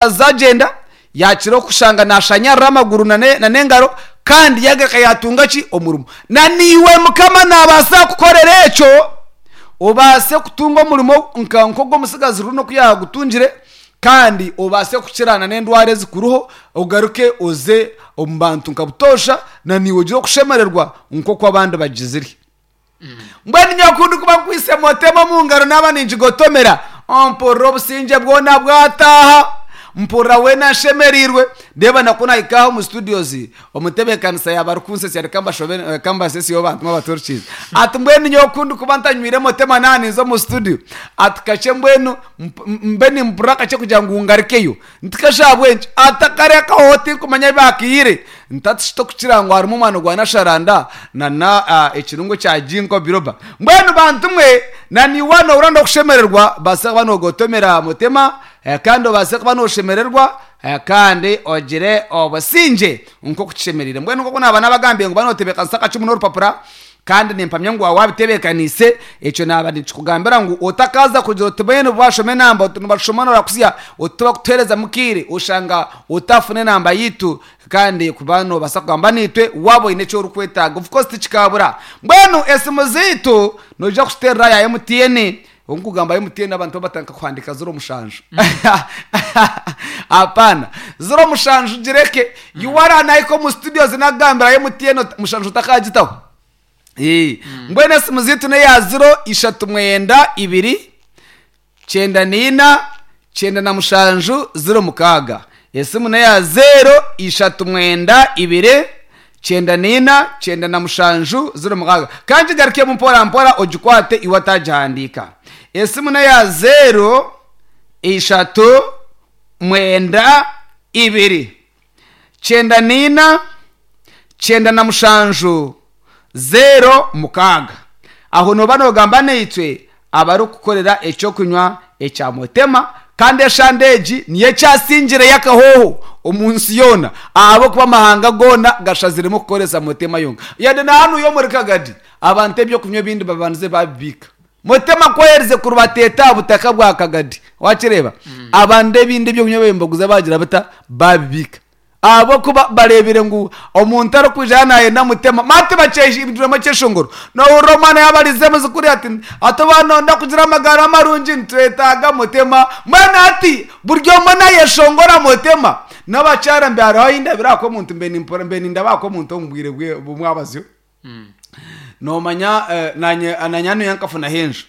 Zagyenda, yaakira okushanga naashanyarara amaguru n'engaro, kandi yaagaruka yaatunga ki? Omurimo. Na naiwe Mukama naabaasa kukukorera ekyo, obaase kutunga omurimo nka nk'ogw'omutsigazi Bruno oku yaagutungire, kandi obaase kukira n'endwara ezikuriho, ogaruke oze omu bantu nka butoosha, na naiwe ogire okushemererwa nk'oku abandi bagizire. Mbwenu nyowe ku ndikuba nkwitse motema omu ngaro naaba ningigotomera, mpurira obusingye bwona bwataaha, mpurira weena nshemereirwe. Reeba na ku naahika aha omu studios, omutebeekanisa yaaba arikunsesya reka mbashobe reka mbasesyeho bantu abaturikirize. Ati mbwenu nyowe ku ndikuba ntanywire motema naaba ninza omu studio, ati kakye mbwenu mbe nimpurira kakye kugira ngu ngarukeyo. Nti kasha ahabw'enki? Ati akariya akahooho tinkumanya ahi baakaihire. Nti ati shi tokukira ngu harimu omwani gwa nasharanda na na ekirungo kya ginkgo biloba. Mbwenu bantu mwe, na naiwe nohurira n'okushemererwa, baasa kuba nogotomera mutima kandi obaase kuba noshemererwa kandi ogire obusingye nk'oku kishemereire. Mbwenu nk'oku naaba nabagambiire ngu ba notebeekanisa akacumu n'orupapura, Kandi nimpamya ngu waaba waabitebeekaniise, ekyo naaba ninkikugambira ngu otakaaza kugira oti mbwenu waashoma enamba oti nibashoma noorakusya oti tibakutuheerezamu kaire oshanga otaafuna enamba yaitu kandi kuba noobaasa kugamba naitwe waaba oine eki orikwetaaga. Of course tikikaabura. Mbwenu esimu zaitu noija kuziteerera ya MTN, Obu nkugamba MTN abantu babatandika kuhandiika ziro mushanju. Hapana. Ziro mushanju gireke. Iwe nahika omu studios nakugambira MTN mushanju otakagitaho. Eh, Mbwenu esimu zaitu neya ziro ishatu mwenda ibiri kyenda naina 97 06. Esimu neya zero ishatu mwenda ibiri 94 97 06. Ka ngigarukemu mpora mpora ogikwate iwe atagihandiika. Esimu neya zero ishatu mwenda ibiri 94 97 06. Aho nooba noogamba naitwe abarikukukorera eky'okunywa ekya Motema, kandi eshande egi niyo ekyasingireyo akahooho omu nsi yoona ahabw'okuba amahanga goona gashaziremu kukoresa Motema yonka. Yade na hanuya omuri Kagadi, abantu eby'okunywa ebindi babandize baabibiika. Motema ku aherize kurubateeta aha butaka bwa Kagadi, wakireeba, abandi ebindi eby'okunywa babaire nibaguza baagira bata? Baabibiika. Ahabw'okuba bareebire ngu omuntu arikwija yaaba naayenda mutema, mati bakyehindwiremu ekyeshongoro. Noohurira omwana yaaba arize muzukuru ati, Hati waaba nooyenda kugira amagara marungi nitwetaaga mutema. Mbwenu hati buri omwe naayeshongora mutema. N'abakyara mbe hariho ahu ndabire aha kw'omuntu mbe nimpurira mbe nindaba aha kw'omuntu omu bwire bw'omwabazyo. Noomanya naanye naanye hanuya nkafunaho enju.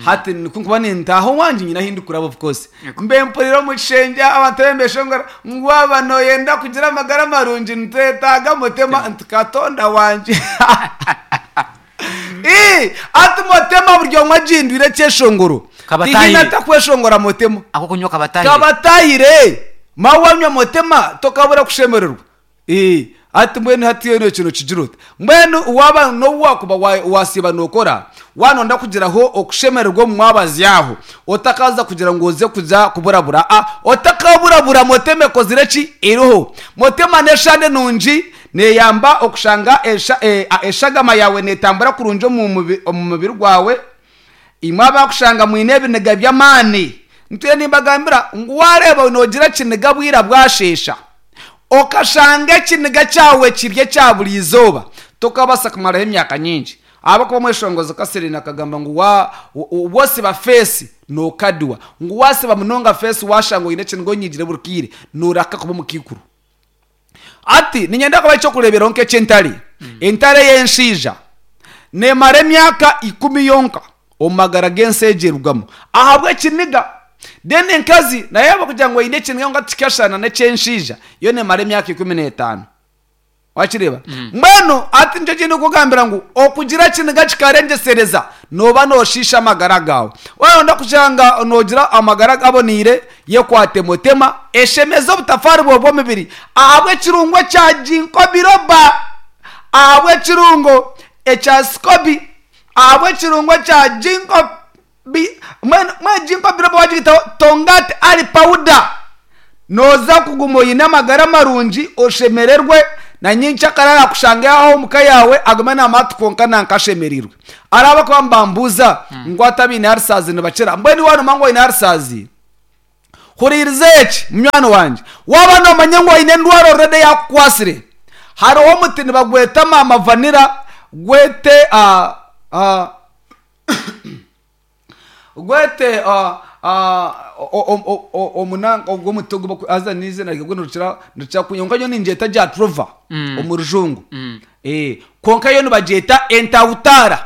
Hati ku nkuba nintaaha owangye nyine ahu ndikuraba of course. Mbe mpurira omu kishengye abantu bariyo nibeshongora ngu waaba nooyenda kugira amagara marungi nitwetaaga mutema nti Katonda wangye. Ii, hati mutema buri omwe agihindwire ekyeshongoro. Kabatahire. Tihaine atakweshongora mutema. Ak'okunywa kabatahire. Kabatahire. Maawe wanywa mutema tokabura kushemererwa. Ee, hati mbwenu hati eno ekyo nokigira ota? Mbwenu waaba n'obu waakuba wa- waasiiba nookora, waanonda kugiraho okushemererwa omu mwabazyo aho, otakaaza kugira ngu oze kuza kuburabura, a otakaburabura motema ekozire ki? Eriho. Motema n'eshande nungi, neeyamba okushanga esha e a eshagama yaawe neetambura kurungi omu mubi omu mubiri gwawe. Imwe abakushanga mwine ebiniga by'amaani, ntwire nimbagambira ngu waareeba noogira ekiniga bwira bwasheesha, okashanga ekiniga kyawe kiri ekya buri izooba, tokabaasa kumaraho emyaka nyingi. Ahabw'okuba omweshongozi Catherine akagamba ngu wa wosiba feesi nookadiwa, ngu waasiba munonga feesi waashanga oine ekiniga onyiigire buri kaire, nooraka kuba omukaikuru. Hati niinyenda kubaha eky'okureeberaho nk'eky'entare. Entare ey'enshaija neemara emyaka ikumi yonka omu magara g'ensi egi erugamu ahabw'ekiniga. Then enkazi nayo ahabw'okugira ngu eine ekiniga kwonka tikikashushana n'eky'enshaija, yo neemara emyaka 15. Wakireeba? Mbwenu hati nikyo eki ndikukugambira ngu okugira ekiniga kikarengyesereza, nooba nooshiisha amagara gaawe. Waayenda kushanga noogira amagara gaboneire, Yekwate mutema, eshemeze obutafaari bwawe bw'omubiri ahabw'ekirungo ekya ginkgo biloba, ahabw'ekirungo ekya sikobi, ahabw'ekirungo ekya ginkgo bi, mbwenu mbwenu ginkgo biloba waagitaho tongati ali pawuda, nooza kuguma oine amagara marungi oshemererwe na nyenkyakare araakushange aho omu ka yaawe agume naamanya ati kwonka nanka ashemereirwe. Hariho abarikuba nibambuuza ngu hati abaine arisaazi nibakira? Mbwenu iwe waanuma ngu oine arisaazi? Huriiriza eki, munywani wangye. Waaba noomanya ngu oine endwara already eyaakukwasire, hariho omuti nibagweta maama vanilla, gwete gwete omunanka ogwo omuti ogu baku haza n'eiziina ryagwo nirukira nirukira kunya kwonka nyowe ningyeta jatrova omu rujungu. Kwonka yo nibagyeta entahutaara.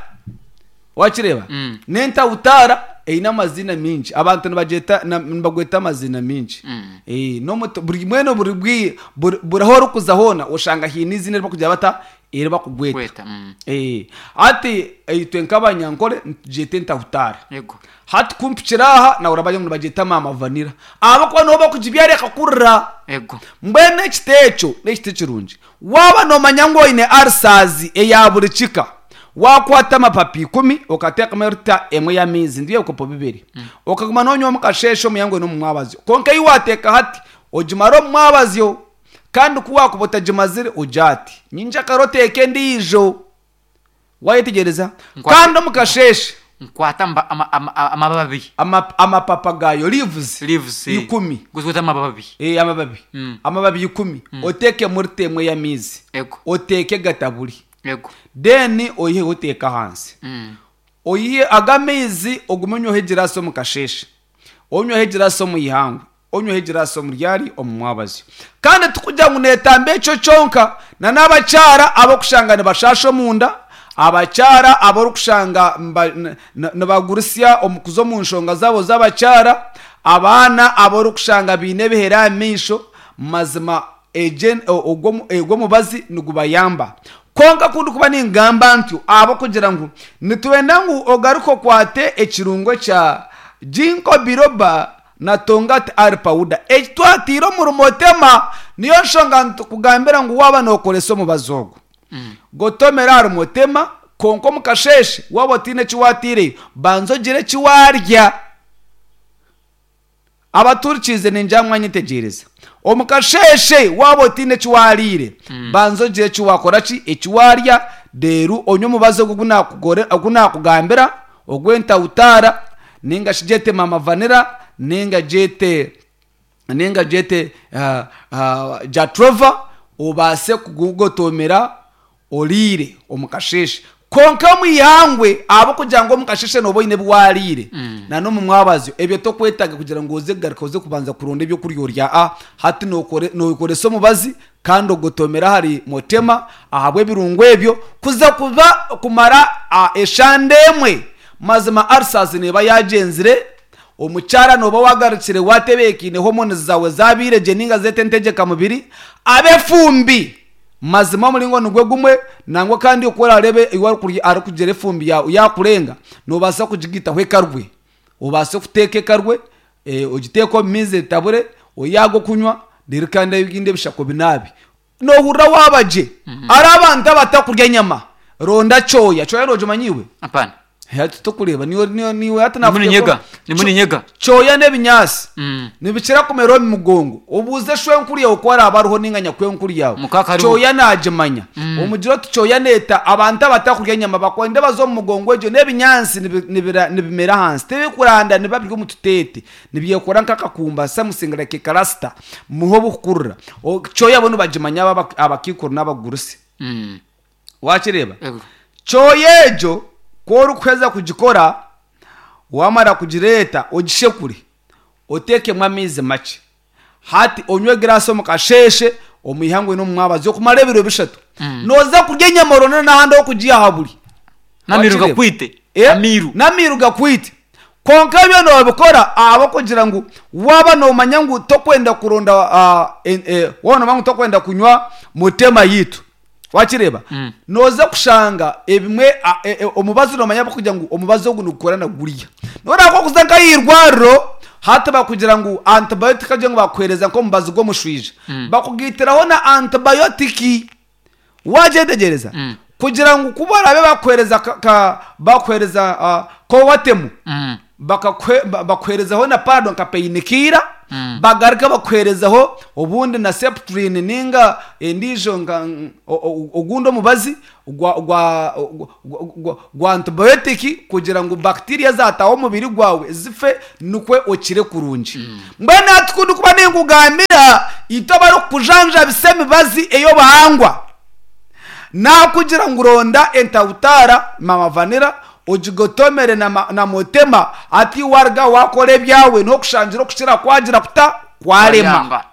Wakireeba? N'entahutaara eine amaziina maingi. Abantu nibagyeta na- nibagweta amaziina maingi. N'omuti buri mbwenu buri bwi buri buri ahu orikuza hoona oshanga haine eiziina eri barikugira bata? Eri bakugweta. Gweta, mm. Hati itwe nk'abanyankore nitugyeta entahutaara. Yego. Hati ku mpikire aha nawe orabagira ngu nibagyeta maama vanilla ahabw'okuba niho bakugibyara ekakurira. Yego. Mbwenu ekiti ekyo n'ekiti kirungi. Waaba noomanya ngu oine ulcers eya buri kika, waakwata amapapa ikumi okateekamu erita emwe y'amaizi nibyo ebikopo bibiri, okaguma noonywa omu kasheeshe, omu ihangwe n'omu mwabazyo. Kwonka ei waateeka hati ogimare omu mwabazyo kandi ku waakuba otagimazire ogye ati, Nyenkyakare oteeke endiijo. Waayetegyereza? Nkwate- Kandi omu kasheeshe Nkwata amba- ama- ama- amababi. ama- amapapa gaayo, leaves, Leaves, eh. ikumi. Guzweta amababi. Eh, amababi. Amababi ikumi. Oteekemu rita emwe y'amaizi. Ego. Oteeke gataburi. Ego. Then oiheho oteeke ahansi. Oihe ago amaizi ogume onyweho egiraasi omu kasheeshe, onyweho egiraasi omu ihangwe, onyweho egiraasi omu ryari, omu mwabazyo. Kandi tikugira ngu neetamba ekyo kyonka, na n'abakyara ab'okushanga nibashaasha omunda, abakyara aborikushanga nibagurutsya omu kuza omu nshonga zaabo z'abakyara, abaana aborikushanga baine ebihere aha maisho, mazima ogwo omubazi nigubayamba. Kwonka ku ndikuba ningamba ntyo ahabw'okugira ngu nitwenda ngu ogaruke okwate ekirungo kya Ginkgo biloba na Tongkat Ali powder eki twataire omuri Motema. Niyo nshonga nitukugambira ngu waaba nookoresa omubazi ogu, gotomere ahari Motema kwonka omu kasheeshe waaba otaine eki waataireyo, banza ogire eki waarya. Abaturikirize ningira ngu mwanyetegyereza. Omu kasheeshe waaba otaine eki waariire, banza ogire eki waakora ki? Eki waarya, reero onywe omubazi ogu ogu naakugambira, ogw'entahutaara, nainga shi gyete maama vanilla, nainga gyete nainga gyete jatrova, obaase kugugotoomera oriire omu kasheeshe. Kwonka omu ihangwe ahabw'okugira ngu omu kasheeshe nooba oine ebi waariire na n'omu mwabazyo, ebyo tokwetaaga kugira ngu oze kugaruka oze kubanza kuronda eby'okurya orya. A Hati nookoresa omubazi kandi ogotomera ahari motema ahabw'ebirungo ebyo kuza kuba kumara eshande emwe. Mazima ulcers neeba yaagyenzire, omukyara nooba waagarukire waatebeekaine hormones zaawe zaabaire gye nainga zeete entegyeka mubiri, ab'efumbi. Mazima omuringo nigwo gumwe, nangwa kandi oku orareebe iwe arikugira efumbi yaawe yaakurenga, noobaasa kugigaitaho ekarwe. Obaase kuteeka ekarwe, ogiteeke omu maizi etabure, oyihe ag'okunywa, reero kandi ebindi ebishaka obinaabe. Noohurira waaba gye. Hariho abantu abatakurya enyama, ronda kyoya. Kyoya noogimanya iwe? Hapana. Hati tokureeba niiwe niiwe niiwe hati Ndimu nakuteeka ninyega, ndimu ninyega. Kyoya n'ebinyaatsi Mm. nibikira kumera omu mugongo. Obuuze shwenkuru yaawe ku araabe ariho nainga nyakwenkuru yaawe. Mukaaka ariho. Kyoya naagimanya. Omugire oti kyoya neeta abantu abatakurya enyama bakwenda baze omu mugongo egyo n'ebinyaatsi nibi- nibira- nibimera ahansi. Tibikuranda nibiba biri omu tuteete. Nibyekora nk'akakumba something like a cluster niho burikukurira. O- Kyoya bo nibagimanya abo aba- abakaikuru n'abagurusi. Mm. Waakireeba? Ego. Kyoya egyo ku orikuheza kugikora, waamara kugireeta ogishekure, oteekemu amaizi makye. Hati onywe egiraasi omu kasheeshe, omu ihangwe n'omu mwabazyo okumara ebiro bishatu. Nooza kurya enyama oronde n'ahandi ah'okugiiha haburi. N'amairu Wakireeba? gakwite. Eh, Amairu. N'amairu gakwite. Kwonka ebyo noobikora ahabw'okugira ngu waaba noomanya ngu tokwenda kuronda waaba noomanya ngu tokwenda kunywa mutema yaitu. Wakireeba? Nooza kushanga ebimwe a- e- e- omubazi noomanya ahabw'okugira ngu omubazi ogu nigukora na guriya. Noreeba nk'okuza nk'aha irwariro hati bakugira ngu antibiotic agye ngu bakuheereza nk'omubazi gw'omushwija. Bakugaitiraho na antibiotic. Wagyetegyereza? Kugira ngu ku baraabe bakuheereza ka, ka, bakuheereza ah, kowatemu, bakakwe, ba- bakuheerezaho na panado nka painkiller. Bagaruke bakuheerezeho obundi na septrin ninga endiijo nka ogundi omubazi gwa gwa gwa antibiotic kugira ngu bacteria ezataaha omu mubiri gwawe zife nikwo okire kurungi. Mbwenu hati ku ndikuba ninkugambira itwe abarikukujanjabisa emibazi ey'obuhangwa, Naakugira ngu ronda entawutaara, Mama Vanilla, ogigotomere na Motema, hati waruga waakora ebyawe n'okushangira okukira kwagira kuta? Kwarema. Kwayanga.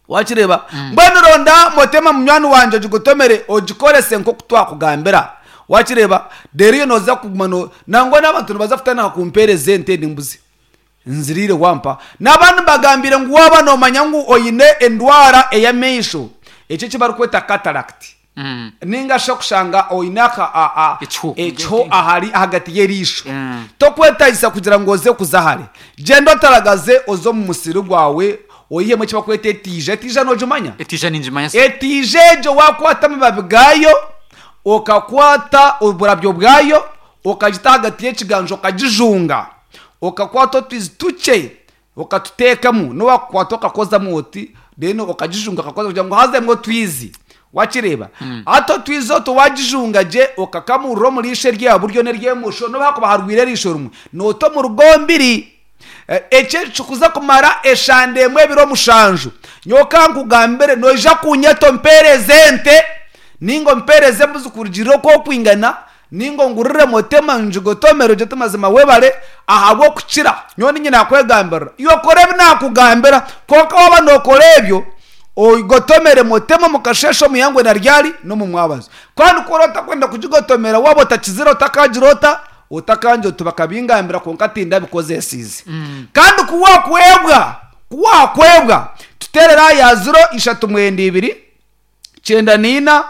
Wakireeba? Mbwenu ronda Motema munywani wangye ogigotomere ogikorese nk'oku twakugambira. Wakireeba? Reero iwe nooza kuguma no. Nangwa n'abantu nibaza kutandika kumpeereza ente n'embuzi. Nziriire wampa. Naba nimbagambiire ngu waaba noomanya ngu oine endwara ey'amaisho, eki eki barikweta cataract, nainga shi okushanga oine aka a a Ekiho. ekiho ahari ahagati y'eriisho, tokwetagisa kugira ngu oze kuza hare. Gyenda otaragaze oze omu musiri gwawe oihemu eki barikweta etiija. Etiija noogimanya? Etiija ningimanya sir. Etiija egyo waakwata amababi gaayo, okakwata oburabyo bwayo, okagita ahagati y'ekiganja okagijunga, Okakwata otwizi tukye okatuteekamu, n'obu wakukwata okakozamu oti, then okagijunga okakoza kugira ngu hazemu otwizi. Wakireeba? Hati otwizi otwo wagijunga gye okakamurira omu riisho ery'aha buryo n'ery'emosho, n'obu hakuba harwaire eriisho rimwe, noota omu rugombiri. Eki ekikuza kumara eshande emwe ebiro mushanju. Nyowe ka nkugambire, noija kunyeta ompeereze ente, nainga ompeereze embuzi kurugiirira oku okwingana, Nainga ongurire motema ngigotomere ogye oti mazima webare ahabw'okukira. Nyowe niinye naakwegambirira. Iwe kora ebi naakugambira, kwonka waaba nookora ebyo, ogotomere motema omu kasheeshe, omu ihangwe na ryari, n'omu mwabazyo. Kandi ku oraba otakwenda kugigotomera waaba otakizire otakaagira ota? Otakangira oti bakabingambira kwonka tindabikozesiize. Kandi ku waakwebwa, ku waakwebwa, tuteerere aha ya ziro ishatu mwenda ibiri, 94,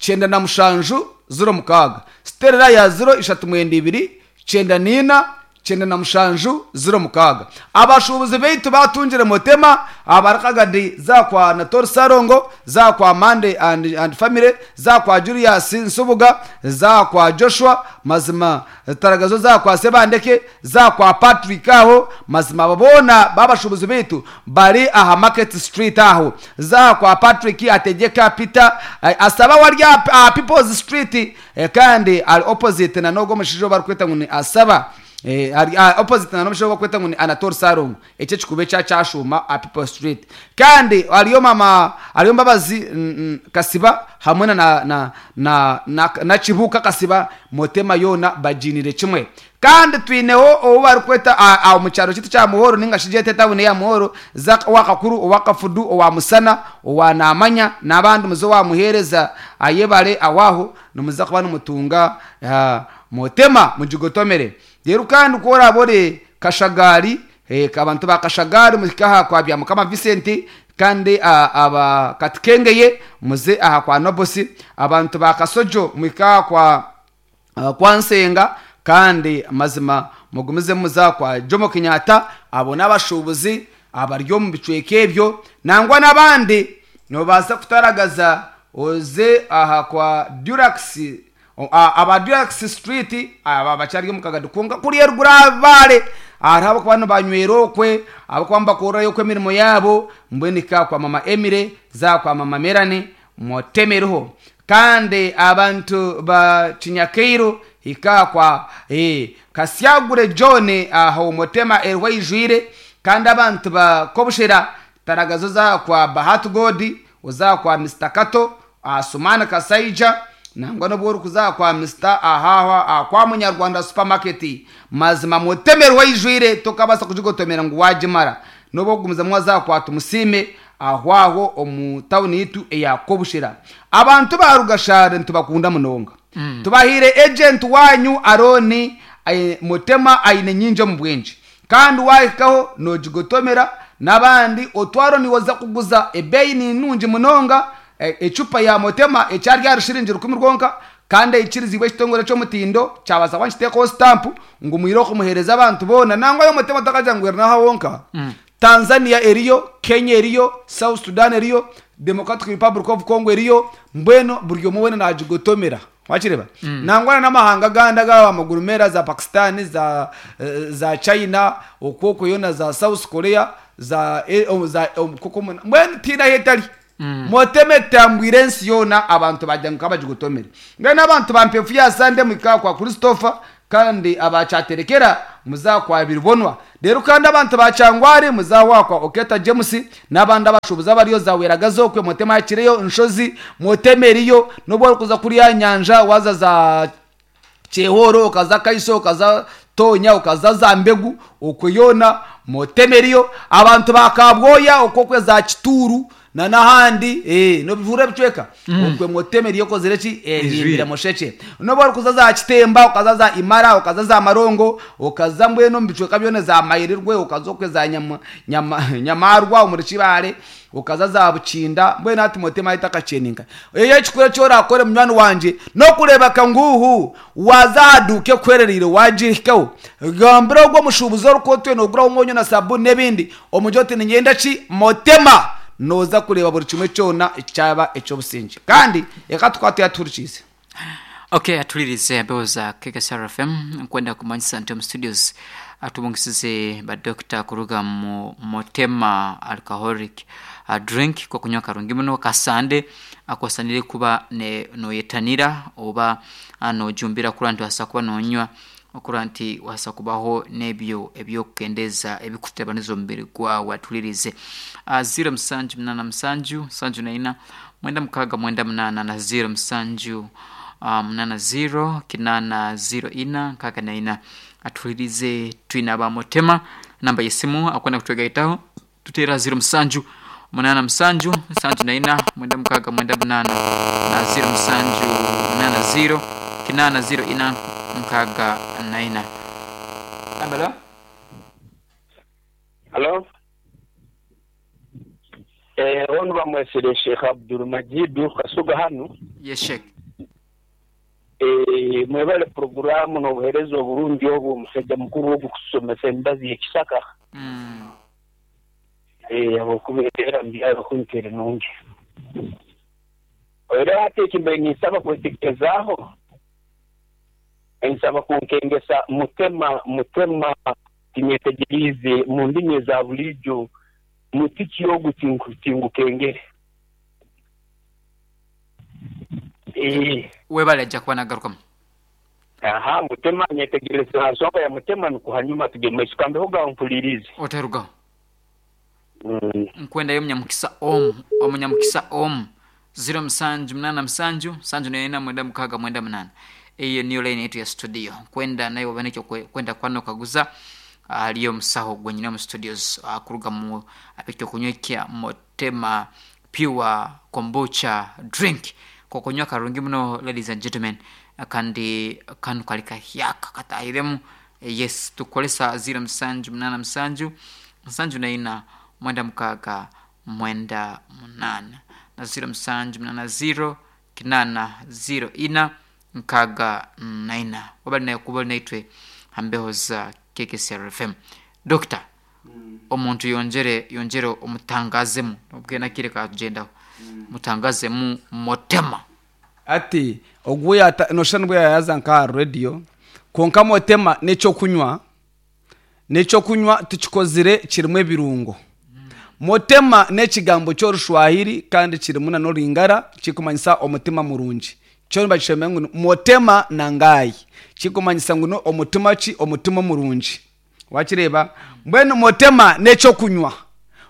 97, 06. Siterera ya ziro ishatu mwenda ibiri, 94, 97, 06. Abashuubuzi baitu baatungire Motema abarikagadi za kwa Natori Ssalongo, za kwa Mande and, and family, za kwa Julius Nsubuga, za kwa Joshua Mazima Taragazo, za kwa Sebandeke, za kwa Patrick aho. Mazima abo boona b'abashuubuzi baitu bari aha Market Street aho. Za kwa Patrick Ategeka Peter Asaba wari aha People's Street kandi ari opposite na n'ogwo omushaija ou barikweta ngu ni Asaba ari opposite na n'omushaija ou barikweta ngu ni Anatole Ssalongo. Ekyo ekikuubo ekya kyashuuma aha People Street. Kandi hariyo mama hariyo Mbabazi Kasiba hamwe na na na na na Kibuuka Kasiba Motema yoona bagiiniire kimwe. Kandi twineho ou barikweta aha omu kyaro kyaitu kya Muhoro nainga shi gyete etawuni eya Muhoro, Zack owa Kakuru, owa Kafudu, owa Musana, owa Naamanya n'abandi muze owa Muheereza ayebare aho aho nimuza kuba nimutunga Motema mugigotomere. Reero kandi ku oraabe ori Kashagaari, abantu ba Kashagaari muhike aha kwa Byamukama Vincent kandi aba Katikengeye muze aha kwa Nobosi, abantu ba Kasojo muhike aha kwa kwa Nsenga kandi mazima mugumizemu muze aha kwa Jomo Kenyatta, abo n'abashuubuzi abari omu bicweka ebyo nangwa n'abandi noobaasa kutaragaza oze aha kwa Durax Aba Durax Street aba bakyari omu kagadi kwonka kuriya eruguru aha Bibale hariho abakuba nibanywera okwe, abakuba nibakorerayo okwe emirimo yaabo mbwenu hika kwa mama Emily za kwa mama Melanie mutemeriho. Kandi abantu ba Kinyakairu hika kwa Kasyagure John aho Mutema eriho aijwire. Kandi abantu ba Kobushera taragaza oze aha kwa Bahati God, oze aha kwa Mister Kato, aha Sumani Kasaija, nangwa n'obu orikuza aha kwa Mister aha aha kwa Munyarwanda Supermarket, mazima mutemerwe eijwire tokabaasa kugigotomera ngu waagimara. N'obu orikugumizamu waza aha kwa Tumusiime aho aho omu tawuni yaitu eya Kobushera. Abantu ba Rugashare nitubakunda munonga. Tubahaire agent waanyu Arooni Mutema aine nyingi omu bwengye. Kandi waahikaho noogigotomera n'abandi otwaro niiwe oza kuguza. Ebeeyi ni nungi munonga, ecupa ya Motema ekyari ahari shiringi rukumi rwonka kandi eikiriziibwe ekitongore ky'omutindo kyabaasa kuba nikiteekaho sitampu ngu mwire okumuheereza abantu boona. Nangwa yo Motema takagira ngu eri n'aha wonka, Tanzania eriyo, Kenya eriyo, South Sudan eriyo, Democratic Republic of Congo eriyo, mbwenu buri omwe weena naagigotomera. Wakireeba? Nangwa na n'amahanga agandi aga amaguru meera za Pakistan, za za China, okwo okwo yoona za South Korea, za e, omu- za omu- kuko muna- mbwenu tihaine ahu etari. Motema etambwire ensi yoona abantu bagira ngu kabagigotomere. Mbwenu abantu ba Mpefu ya Sande muhike aha kwa Christopher kandi aba Kyaterekera muze aha kwa Biribonwa. Reero kandi abantu ba Kyangwari muze aho aha kwa Oketa James n'abandi abashuubuzi abariyo za Weragazi okwe Motema hakireyo Nshozi Motema eriyo n'obu orikuza kuriya aha nyanja waaza za Kyehoro okaza Kaiso okaza Tonya okaza za Mbegu okwo yoona Motema eriyo. Abantu ba Kabwoya okwo okwe za Kituuru na n'ahandi eh, nobihurira ebicweka okwe Motema eriyo ekozire ki ehimbire mushekye. N'obu orikuza za Kitemba okaza za Imara okaza za Marongo okaza mbwenu omu bicweka byona za Mayirirwe okaza okwe za Nyama, Nyama, Nyamarwa omuri Kibaale Okaza za Bukinda, mbwenu hati Motema haitu akakyeninka. Eyo ekikuru eki orakore munywani wangye n'okureebeka ngu waaza aha duuka ekuherereire waagihikaho, gambira ogwo omushuubuzi orikuba otwire nooguraho omwonyo na sabuuni n'ebindi, omugire oti niinyenda ki? Motema! Nooza kureeba buri kimwe kyona kyaba eky'obusingye. Kandi reka tukwate atuhurikiize. Ok atulirize embeho za KKSR FM nkwenda kumanyisa nti omu studios atubungisize ba doctor kuruga mu Motema alcoholic drink kokunywa karungi muno kasande akosanire kuba noyetanira oba nojumbira kurora nti wasa kuba nonywa okurora nti wasa kubaho nebyo ebyokukendeza ebikutabaniza omubiri gwawe atulirize 07 8 7 7 4 6 98 na 07 80 8 04 64 atuhuririze twine aba Mutema namba y'esimu akwenda kutwegaitaho tuteera 07 8 7 74 96 98 na 07 80 8 04 64. Ambala. Halo. Eh, onu bamwesire Sheikh Abdul Majidu Kasuga hanu. Yes Sheikh. Eh, mwebale puroguramu n'obuhereza oburungi obu omusaija mukuru ogu kutusomesa emibazi y'ekisaka. Eh, habwokuba eteera mu byaro kunu teri nungi. Era hati eki mbaire ninsaba kwetegerezaaho, ninsaba kunkengesa mutema mutema tinyetegeriize mu ndimi eza buliijo muti ki ogu tingukengere. Eeh. Webale aija kuba nagarukamu. Aha, mutema nyetegereze ha nsonga ya mutema nukwo hanyuma tugende mumaiso. Kambeho gaho mpuliriize. Otarugaho. Nkwendayo omunyamukisa omu, omunyamukisa omu. Ziro musanju munaana musanju, nsanju naina mwenda mukaaga mwenda munaana. Eyo niyo line yaitu ya studio. Nkwenda naiwe obe n'ekyokwenda kuba nokaguza ahari omusaho ogwo nyine omu studios kuruga mu eky'okunywa ekya Motema Pure Kombucha Drink. K'okunywa karungi muno ladies and gentlemen kandi kanu kari kahyaka katahiremu. Yes, tukukoresa ziro musanju munaana musanju, nsanju naina mwenda mukaaga mwenda munaana na ziro musanju munaana ziro kinaana ziro ina nkaaga naina. Wabari nawe kuba ori naitwe aha mbeho za KKCR FM. Dokita, omuntu yongyere yongyere omutangazemu obwe n'akaire kaatugyendaho, mutangazemu Motema. Ati ogwo yata noshusha nibwo yaaza nk'aha rediyo kwonka Motema n'eky'okunywa n'eky'okunywa tukikozire kirimu ebirungo. Motema n'ekigambo ky'Orushwahiri kandi kirimu nana Oringara kirikumanyisa omutima murungi. Kyo nibakishoma ngu ni Motema na Ngai kirikumanyisa ngu n'omutima ki? Omutima omurungi. Wakireeba? Mbwenu Motema n'eky'okunywa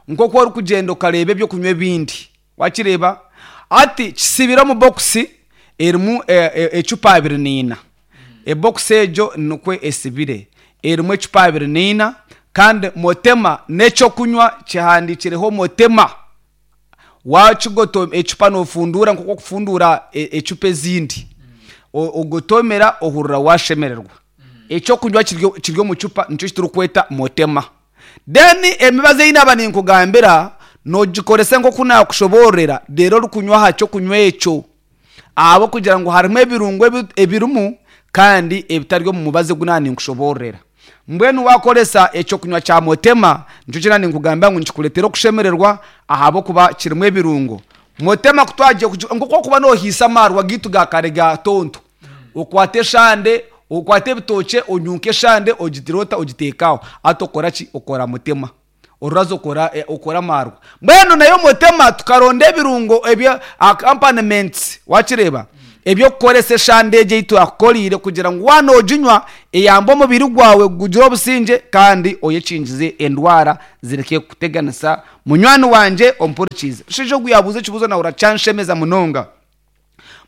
nk'oku orikugyenda okareeba eby'okunywa ebindi. Wakireeba? Hati kisibire omu bokisi erimu ecupa 24. Ebokisi egyo nikwo esibire, erimu ecupa 24 kandi Motema n'eky'okunywa kihandiikireho Motema. Wakigoto ecupa noofunduura nk'oku orikufunduura ecupa ezindi. Ogotomera ohurira waashemererwa. Eky'okunywa kiri omu cupa nikyo eki turikweta Motema. Then emibazi ei naaba ninkugambira noogikoresa nk'oku naakushoboororera reero orikunywa aha ky'okunywa ekyo ahabw'okugira ngu harimu ebirungo ebirimu kandi ebitari omu mubazi ogu naaba ninkushoboororera. Mbwenu waakoresa eky'okunywa kya Motema nikyo eki naaba ninkugambira ngu nikikureetera okushemererwa ahabw'okuba kirimu ebirungo. Motema ku twagiye nk'oku orikuba noohiisa amaarwa gaitu ga kare ga tonto, Okwate eshande, okwate ebitookye onyunke eshande ogitire ota ogiteeke aho. Hati okora ki? Okora mutema. Oruraza okora okora amaarwa. Mbwenu nayo Mutema tukaronda ebirungo ebya accompaniments wakireeba eby'okukoresa eshande egi ei twakukoriire kugira ngu waaba nooginywa eyambe omubiri gwawe gugire obusingye kandi oyekingize endwara zireke kukuteganisa munywani wangye ompurikiize. Omushaija ogu yaabuuza ekibuuzo nahurira kyanshemeza munonga.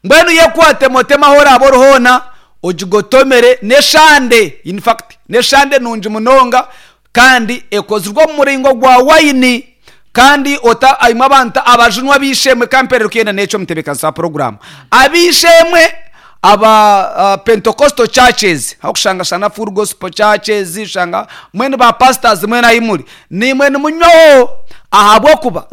Mbwenu yekwate Mutema ahu oraabe ori hoona ogigotomere n'eshande in fact n'eshande nungi munonga kandi ekozirwe omu muringo gwa wayini kandi ota imwe abantu abajunwa ab'eishe-emwe ka mperere kuyenda n'ekyo omutebeekanisa wa puroguraamu ab'eishe-emwe aba Pentecostal churches ahu orikushanga shanga full gospel churches shanga mbwenu ba pastors mwena ahi muri naimwe nimunywaho ahabw'okuba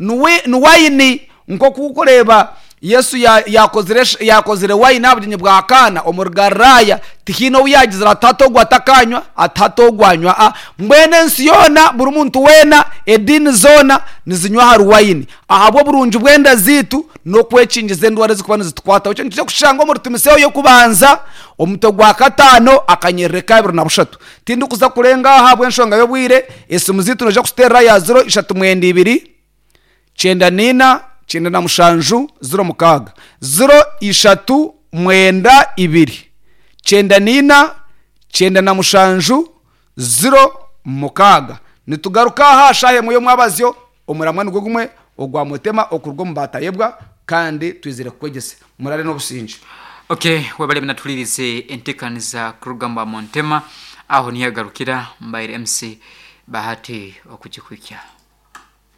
ni wayini Nk'oku orikureeba Yesu yaakozire yaakozire waini aha bugyenyi bwa Kaana omuri Galilaaya, tihaine ou yaagizire ati hati ogu atakaanywa, ati hati ogu anywa. A Mbwenu ensi yoona, buri muntu weena, ediini zoona nizinywa ahari waini ahabw'oburungi bw'enda zaitu n'okwekingiza endwara ezirikuba nizitukwataho. Ekyo nitukira kukishanga omuri Timotheo y'okubanza omutwe gwa kataano akanyerere ka 23. Tindikuza kurenga aha ahabw'enshonga y'obwire, esimu zaitu noija kuziteerera aha ya ziro ishatu mwenda ibiri. 94 97 06 0 ishatu mwenda ibiri 94 97 06 Nitugaruka aha aha shaaha emwe y'omwabazyo, omuramwa nigwo gumwe ogwa Mutema okuruga omu Baatayebwa kandi twizire kukwegyesa. Murare n'obusingye. Ok webale munatulirize entekaniza kuruga mubwa Muntema aho niho yagarukira mbaire MC Bahati okugikuhikya.